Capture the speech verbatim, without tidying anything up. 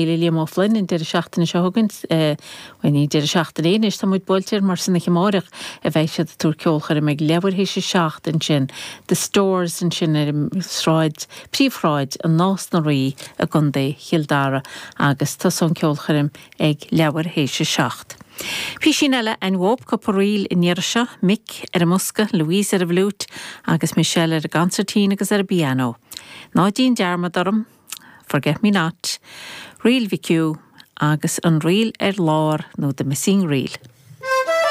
le Liam O'Flynn an deireadh seachtaine seo chugainn ní deireadh seachtaine anois tá muid buailte mar san oíche amárach a bheidh siad ag tabhairt ceolchoirm ag leathuair théis a seacht ansin The Stores ansin ar an sráid príomhshráid an Nás na Rí i gContae Chill Dara agus tosóidh an ceolchoirm ag leathuair théis a seacht. Písín eile an bhóp cúpla ríl in seo, Mick ar an mbosca, Louise ar an bhfliúit agus Michelle ar an gconsairtín agus ar an bpianó. Ná déan dearmad orm, Forget Me Not, Ríl Mhic Hugh agus an ríl ar lár nó The Missing Reel.